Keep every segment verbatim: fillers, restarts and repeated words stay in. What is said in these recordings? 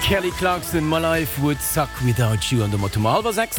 Kelly Clarkson, My Life Would Suck Without You an domat hu mer hallwer sechs.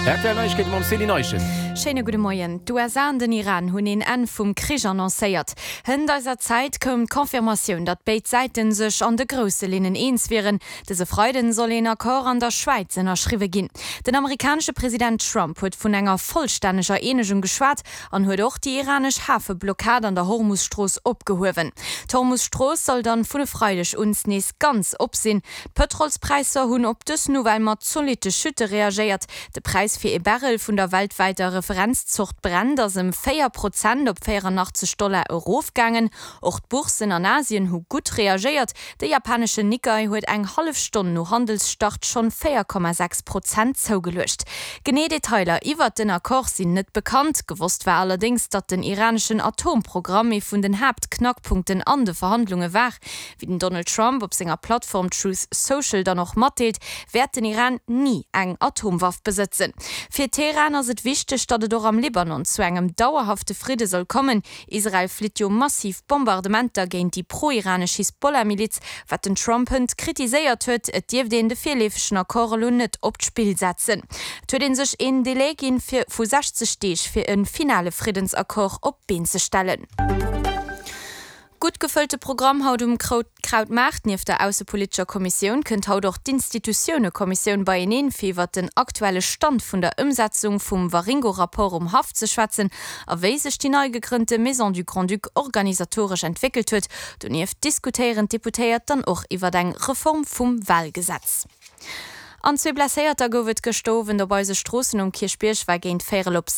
R T L Neiegkeete mam Céline Eischen. Schéine gudde Moien. D'U S A an den Iran hunn een Enn vum Krich annoncéiert. Hënt eiser Zäit koum d'Confirmatioun, datt béid Säite sech an de grousse Linnen eens wieren. Dëse Freiden soll een Accord an der Schwäiz ënnerschriwwe ginn. Den amerikanesche President Trump huet vun enger vollstänneger Eenegung geschwat an huet och déi iranesch Hafeblockad an der Hormus-Strooss opgehuewen. D'Hormus-Strooss soll dann vun e Freideg un nees ganz op sinn. D'Pëtrolspräisser hunn op dës Nouvelle mat zolitte Chute reagéiert. De Präis fir e Barrel vun der weltwäiter Referenzzort Brent ass ëm véier Prozent op véierannachtzeg Dollar erofgaangen. Och d'Bourssen an Asien hu gutt reagéiert. De japaneschen Nikkei huet eng hallef Stonn no Handelsstart schonn véier Komma sechs Prozent zougeluecht. Genee Detailer iwwert den Accord sinn net bekannt. Gewosst war allerdéngs, datt den iraneschen Atomprogramm ee vun den Haaptknackpunkten an de Verhandlunge war. Wéi den Donald Trump op senger Plattform Truth Social dann och matdeelt, wäert den Iran ni eng Atomwaff besëtzen. Fir Teheran ass et wichteg, datt et och am Libanon zu engem dauerhafte Fridde soll kommen. Israel flitt jo massiv Bombardementer géint déi pro-iranesch Hisbollah-Miliz, wat den Trump hënt kritiséiert huet. Et dierft een de virleefegen Accord elo net op d'Spill setzen. Et huet ee sech een Delai ginn fir vu sechzeg Deeg fir e finale Friddensaccord op d'Been ze stellen. Gutt gefëllte Programm haut um Krautmaart. Nieft der aussepolitescher Kommissioun kënnt haut och d'Institutiounekommissioun beieneen, fir iwwert den aktuelle Stand vun der Ëmsetzung vum Waringo-Rapport um Haff ze schwätzen a wéi sech déi nei gegrënnte Maison du Grand-Duc organisatoresch entwéckelt huet. Donieft diskutéieren d'Deputéiert dann och iwwert eng Reform vum Walgesetz. An zwee Blesséierter gouf et gëschter Owend op eise Stroossen. Um Kierchbierg war géint véierel op